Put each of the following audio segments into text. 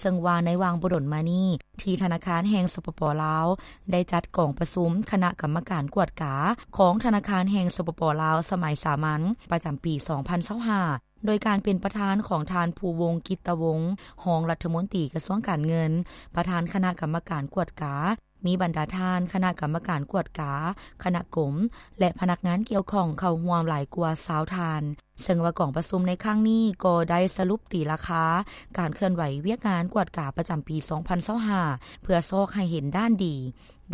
ເຊິ່ງວ່າໃນຫວ່າງບໍ່ດົນມານີ້ ທີ່ທະນາຄານແຫ່ງ ສປປ ລາວ ໄດ້ຈັດກອງປະຊຸມຄະນະກຳມະການກວດກາຂອງທະນາຄານແຫ່ງ ສປປ ລາວ ສະໄໝສາມັນ ປະຈຳປີ ສອງພັນຊາວຫ້າ ໂດຍການເປັນປະທານຂອງທ່ານ ພູວົງ ກິດຕະວົງ ຮອງລັດຖະມົນຕີກະຊວງການເງິນ ປະທານຄະນະກຳມະການກວດກາ, ມີບັນດາທ່ານຄະນະກຳມະການກວດກາ, ຄະນະກົມ ແລະ ພະນັກງານກ່ຽວຂ້ອງເຂົ້າຮ່ວມຫຼາຍກວ່າຊາວທ່ານ. ເຊິ່ງວ່າກອງປະຊຸມໃນຄັ້ງນີ້ກໍໄດ້ສະຫຼຸບຕີລາຄາການເຄື່ອນໄຫວວຽກງານກວດກາປະຈຳປີ ສອງພັນຊາວຫ້າ ເພື່ອຊອກໃຫ້ເຫັນດ້ານດີ,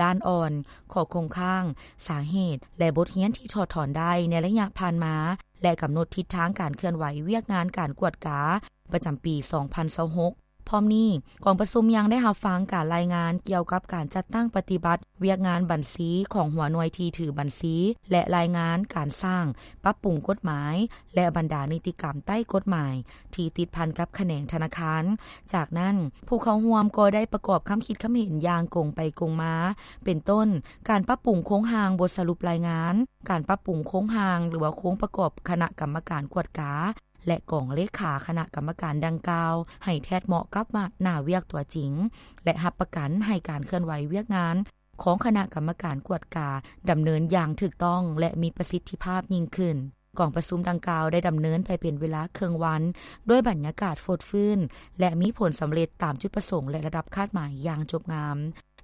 ດ້ານອ່ອນ, ຂໍ້ຄົງຄ້າງ, ສາເຫດ ແລະ ບົດຮຽນທີ່ຖອດຖອນໄດ້ໃນໄລຍະຜ່ານມາ ແລະ ກຳນົດທິດທາງການເຄື່ອນໄຫວວຽກງານການກວດກາປະຈຳປີ ສອງພັນຊາວຫົກ. ພ້ອມນີ້, ກອງປະຊຸມຍັງໄດ້ຮັບຟັງການລາຍງານກ່ຽວກັບການຈັດຕັ້ງປະຕິບັດວຽກງານບັນຊີຂອງຫົວໜ່ວຍທີ່ຖືບັນຊີ ແລະ ລາຍງານການສ້າງ, ປັບປຸງກົດໝາຍ ແລະ ບັນດານິຕິກຳໃຕ້ກົດໝາຍທີ່ຕິດພັນກັບຂະແໜງທະນາຄານ. ຈາກນັ້ນ, ຜູ້ເຂົ້າຮ່ວມກໍໄດ້ປະກອບຄຳຄິດຄຳເຫັນຢ່າງກົງໄປກົງມາ, ເປັນຕົ້ນ, ການປັບປຸງໂຄງຮ່າງບົດສະຫຼຸບລາຍງານ, ການປັບປຸງໂຄງຮ່າງ ຫຼືວ່າໂຄງປະກອບຄະນະກຳມະການກວດກາ ແລະ ກອງເລຂາຄະນະກຳມະການດັ່ງກ່າວ ໃຫ້ແທດເໝາະກັບໜ້າວຽກຕົວຈິງ ແລະ ຮັບປະກັນໃຫ້ການເຄື່ອນໄຫວວຽກງານຂອງຄະນະກຳມະການກວດກາດຳເນີນຢ່າງຖືກຕ້ອງ ແລະ ມີປະສິດທິພາບຍິ່ງຂຶ້ນ. ກອງປະຊຸມດັ່ງກ່າວໄດ້ດຳເນີນໄປເປັນເວລາເຄິ່ງວັນ ດ້ວຍບັນຍາກາດຟົດຟື້ນ ແລະ ມີຜົນສຳເລັດຕາມຈຸດປະສົງ ແລະ ລະດັບຄາດໝາຍຢ່າງຈົບງາມ.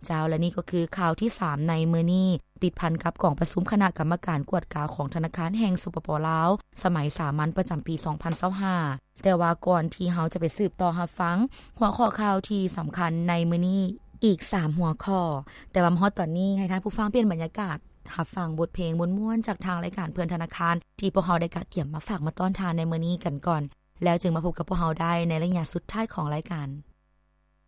ເຈົ້າ ແລະ ນີ້ກໍຄືຂ່າວທີສາມໃນມື້ນີ້ ຕິດພັນກັບກອງປະຊຸມຄະນະກຳມະການກວດກາຂອງທະນາຄານແຫ່ງ ສປປ ລາວ ສະໄໝສາມັນປະຈຳປີ ສອງພັນຊາວຫ້າ. ແຕ່ວ່າກ່ອນທີ່ເຮົາຈະໄປສືບຕໍ່ຮັບຟັງຫົວຂໍ້ຂ່າວທີ່ສຳຄັນໃນມື້ນີ້ອີກສາມຫົວຂໍ້, ແຕ່ວ່າມາຮອດຕອນນີ້ໃຫ້ທ່ານຜູ້ຟັງປ່ຽນບັນຍາກາດ ຮັບຟັງບົດເພງມ່ວນໆຈາກທາງລາຍການເພື່ອນທະນາຄານ ທີ່ພວກເຮົາໄດ້ກະກຽມມາຝາກມາຕ້ອນທ່ານໃນມື້ນີ້ກັນກ່ອນ, ແລ້ວຈຶ່ງມາພົບກັບພວກເຮົາໄດ້ໃນໄລຍະສຸດທ້າຍຂອງລາຍການ.